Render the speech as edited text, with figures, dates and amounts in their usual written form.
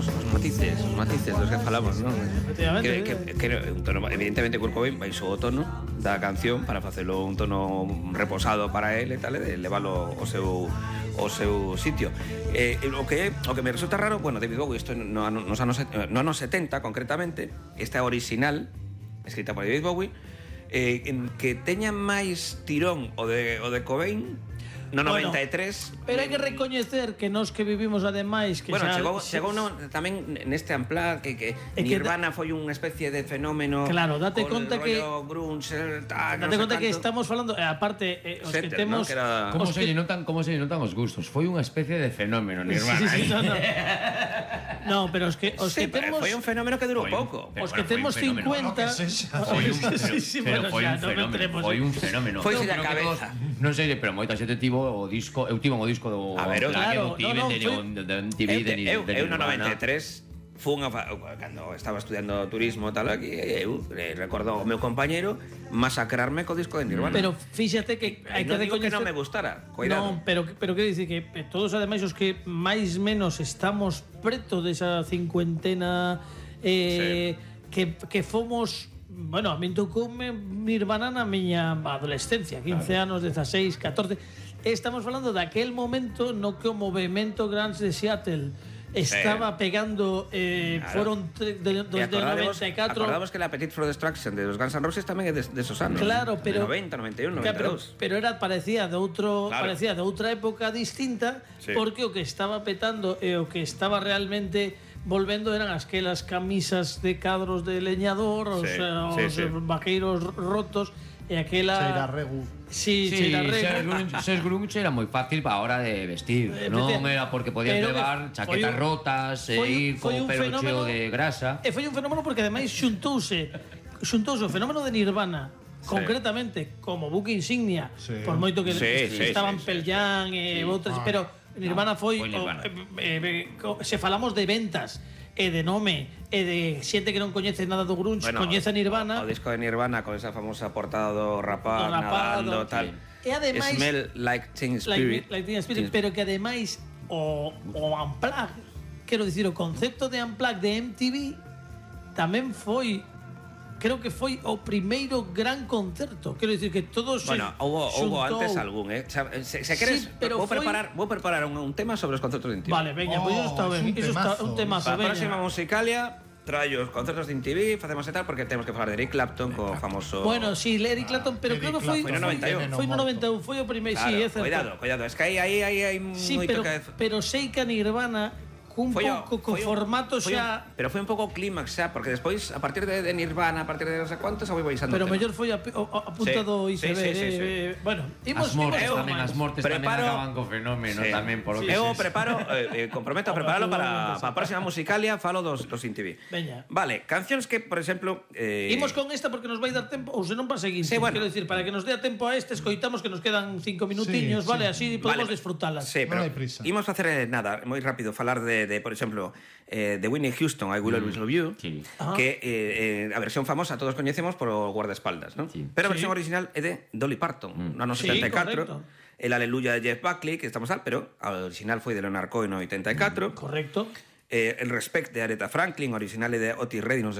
son os matices dos que falamos, non? Efectivamente. Que un tono, evidentemente Kurt Cobain baixou o tono da canción para facelo un tono reposado para él e tal, e leválo ao seu sitio. O que me resulta raro, bueno, David Bowie, isto no anos 70 concretamente, esta original escrita por David Bowie, que teña máis tirón o de Cobain no 93. Pero hai que recoñecer que nós que vivimos ademais que bueno, xa, chegou tamén neste Unplugged que Nirvana foi unha especie de fenómeno. Claro, date conta que grunge, date conta que estamos falando aparte os que temos, ¿no? Como se notan os gustos. Foi unha especie de fenómeno Nirvana. Sí, no, pero os que temos foi un fenómeno que durou pouco. Os que temos 50 foi un fenómeno. Foi da cabeza. Non sei, pero moita xente tivo o disco, eu tivo o disco do MTV de Nirvana. Eu no 93 fun cando estaba estudiando turismo tal aquí, eu recordo o meu compañeiro masacrarme co disco de Nirvana. Pero fíxate que hai que recoñecer que non me gustara. Cuidado. Non, pero quero dicir que todos ademais os que máis menos estamos preto desa cincuentena que fomos. Bueno, a min tocoume Nirvana na miña adolescencia, 15 anos, 16, 14. Estamos falando daquel momento no que o movemento grunge de Seattle estaba pegando, foron desde 94. Acordamos que la Appetite for Destruction de los Guns N' Roses tamén é de esos anos. Claro, pero 90, 91, 92. Pero parecía de outra época distinta, porque o que estaba petando e o que estaba realmente volvendo eran aquelas camisas de cadros de leñador, os vaqueiros rotos e aquela Cheira regu. Cheira regu. Ser grunge era moi fácil para a hora de vestir, non era porque podías levar chaquetas rotas e ir con o pelo cheo de grasa. E foi un fenómeno porque ademais xuntouse o fenómeno de Nirvana concretamente como buque insignia, por moito que estaban Pearl Jam e outras, pero Nirvana foi se falamos de ventas e de nome e de xente que non coñece nada do grunge, coñece a Nirvana. O disco de Nirvana con esa famosa portada do rapaz nadando tal. E ademais Smell Like Teen Spirit. Pero que ademais o Unplugged, quero dicir, o concepto de Unplugged de MTV tamén foi, creo que foi o primeiro gran concerto. Quero dicir que todos hubo antes algún, se queres, vou preparar un tema sobre os concertos de MTV. Vale, veña, pois iso está ben, iso está un temazo, veña. A próxima Musicalia traio os concertos de MTV, facemos e tal, porque temos que falar de Eric Clapton, co famoso. Bueno, sí, Eric Clapton, pero creo que foi no 91. Foi no 91, foi o primeiro, claro, sí, é certo. Cuidado, es que aí moito que pero sei que a Nirvana cun pouco co formato xa... Pero foi un pouco clímax xa, porque despois, a partir de Nirvana, a partir de non sei cuántos, a foi baixando. Pero mellor foi a punta do iceberg. Bueno, as mortes tamén acaban co fenómeno tamén, por lo que eu comprometo a preparalo para a próxima Musicalia, falo dos MTV. Veña. Vale, cancións que, por exemplo... Imos con esta porque nos vai dar tempo, ou senón para seguinte. Quero dicir, para que nos dé tempo a este, escoitamos que nos quedan 5 minutiños, vale, así podemos disfrutalas. Sí, pero imos facer nada, moi rápido, falar de por exemplo, de Whitney Houston, I Will Always Love You, que a versión famosa todos coñecemos por o guardaespaldas, ¿no? Pero a versión original é de Dolly Parton, no ano 74, el Aleluya de Jeff Buckley, que estamos pero a original foi de Leonard Cohen no 84. Correcto. El Respect de Aretha Franklin, original é de Otis Redding no